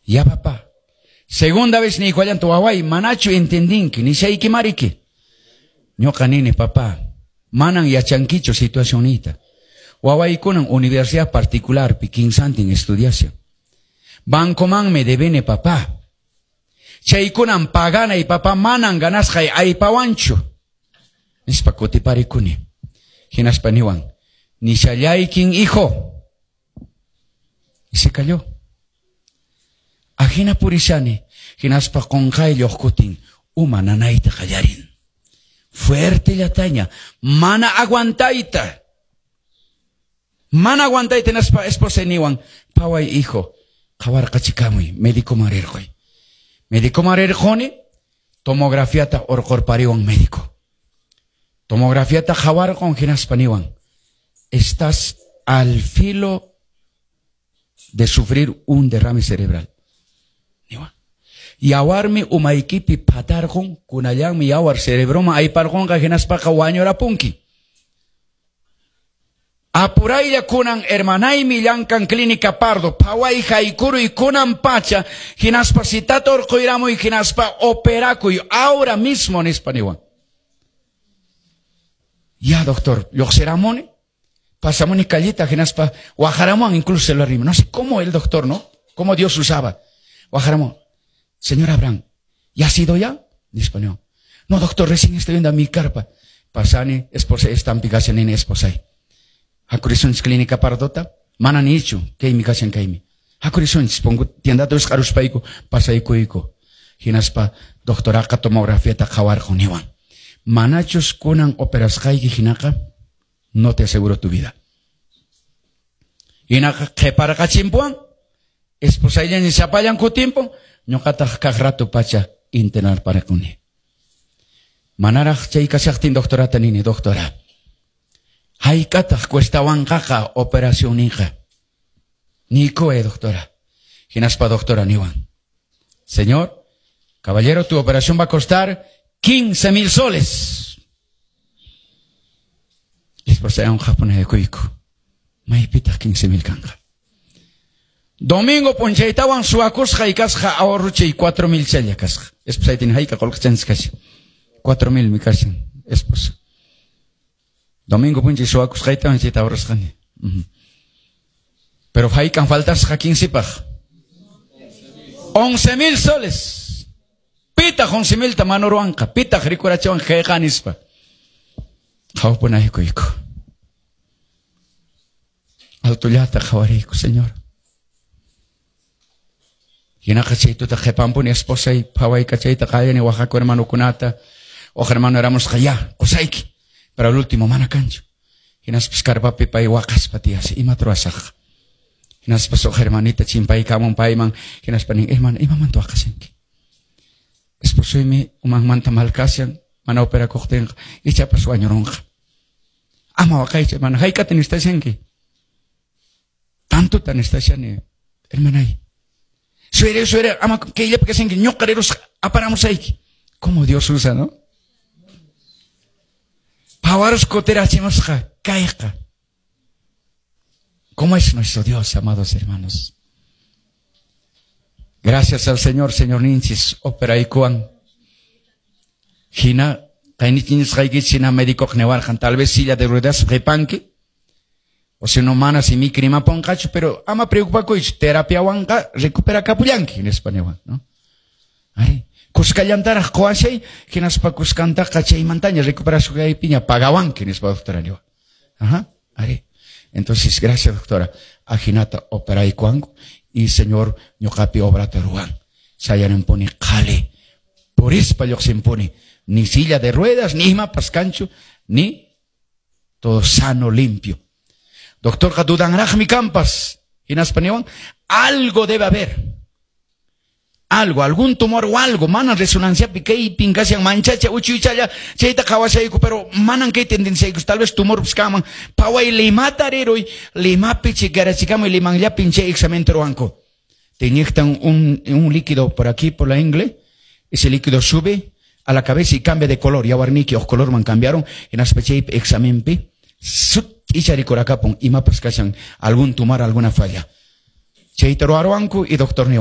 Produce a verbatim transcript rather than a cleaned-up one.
Ya papá. Segunda vez niykuwallantaq waway manachu entendinki nishaykimariki. Ñuqa nini papá, manan yachankichu situacionniyta. Wawaykunan universidad particularpi kinsantin estudiashan. Bancomanmi debene papá. Chaykunan paganay papá manan ganasqay aypawanchu. Nispa kutiparikuni. Hinaspa niwan, nishallaykin hijo. Y se calló. Ajina purishani, hinaspa qunqaylla kutin uma nanayta qallarin. Fuerte llataña, mana aguantayta. Mana aguantayta hinaspa esposa niwan, paway hijo, qhawarqachikamuy, médicoman rirquy. Médicoman rirquni, tomografiata urqurpariwan médico. Tomografiata qhawarqun hinaspa niwan, estás al filo de sufrir un derrame cerebral. Niwan. Yawarmi umaykipi phatarqun, kunallanmi yawar cerebroman ayparqunqa hinaspaqa wañurapunki. Apuraylla kunan hermanaymi llankan clínica Pardo, phaway haykuruy kunan pacha, hinaspa citata urquyramuy hinaspa operakuy ahora mismo nispa niwan. Ya doctor, lluqsiramuni, pasamuni callita hinaspa waqharamuwan incluso celular No sé cómo el doctor, ¿no? Cómo Dios usaba. Waqharamuwan. Señor Abraham, ¿ya ha sido ya? Nispa niwan. No, doctor, recién estoy viendo a mi carpa. Pasani, esposa, estampi kashan nini esposay. Hakurisunchis clínica Pardota, mana nichu, kaymi kashan kaymi. Hakurisunchis, pongo tiendata wisq'aruspayku, pasaykuyku. Hinaspa doctoraqa tomografiata qhawarqun niwan. Manachus kunan operasqayki hinaqa, no te aseguro tu vida. Hinaqa qhiparqachimpuwan, esposayllaña sapallan kutimpun, ñuqataq kaq rato pacha internarparquni. Manaraq chay kashaqtin doctorata nini, doctora. Hayk'ataq cuestawanqaqa operacionninqa. Niykuway, doctora. Hinaspa doctora niwan. Señor, caballero, tu operación va a costar quince mil soles. Esposaywan qhapunayakuyku. Maypitaq quince mil kanqa. Domingo p'unchaytawan suwakusqay kasqa ahorruchay cuatro mil challa kasqa. Esposaytin hayka qullqichanchis kashan. Cuatro mil mi kashan, esposa. Domingo p'unchay suwakusqaytawan chayta ahorrasqani. Uh -huh. Pero haykan faltasqa quincepaq. Once mil soles. Pitaq once milta manuruwanqa. Pitaq rikurachiwan kayqa nispa. Qhawapunaykuyku. Altullata qhawariyku, Señor. Hinaqa chay tuta qhipanpuni esposay phawaykachayta qallani waqaku hermanukunata. Uq hermano eramusqa ya, qusayki. Pero al último mana kanchu. Hinaspas carpapi pay waqaspa tiyasqa, imata ruwasaq. Hinaspas uq hermanita chimpaykamun payman, hinaspa nin, hermana, imamanta waqashanki? Esposuymi umanmanta mal kashan, mana operakuqtinqa, ichapas wañurunqa. Ama waqaychu, hermana, hayk'ata necesitashanki? Tantuta necesitashani, hermanay. Suere, suere, ama kayllapi kashanki, ñuqa rirusqa aparamusayki. Como Dios usa, ¿no? Phawarus kutirachimusqa, kayqa. ¿Cómo es nuestro Dios, amados hermanos? Gracias al Señor, Señorninchis, operaykuwan. Hina, kaynichinchis hina médico niwarqan, tal vez silla de ruedas qhipanki. O si no mana si mi ponqachu, pero ama preocupakuychu, terapiawanqa recuperakapullanki, nispa niwan, ¿no? Ay, kuskallantaraq quwashay, hinaspa kuskantaqa chaymantaña recuperasqaypiña pagawanki, nispa doctora niwan. Ajá, ari. Entonces, gracias doctora. Ajinata operaykuwanku y Señor ñuqapi obrata ruwan. Sayarinpuni qhali, purispa lluqsinpuni, ni silla de ruedas, ni imapas kanchu, ni todo sano, limpio. Doctorqa dudanraqmi kampas. Hinaspa niwan, algo debe haber. Algo, algún tumor o algo, mana resonanciapi kaypin kashan manchacha uchuychalla, chayta qhawashayku, pero manan kay tendenciayku, tal vez tumor kanman, phaway Limata riruy, Limapi chikarachikamuy, Limanllapin chay examen ruwanku. Te inyectan un, un líquido por aquí, por la ingle, ese líquido sube a la cabeza y cambia de color, yawarniyki uq colorman cambiaron, hinaspa chaypi examenpi, sut'icha rikurakapun, imapas kashan algún tumor, alguna falla. Chayta ruwaruwanku y doctor niwan.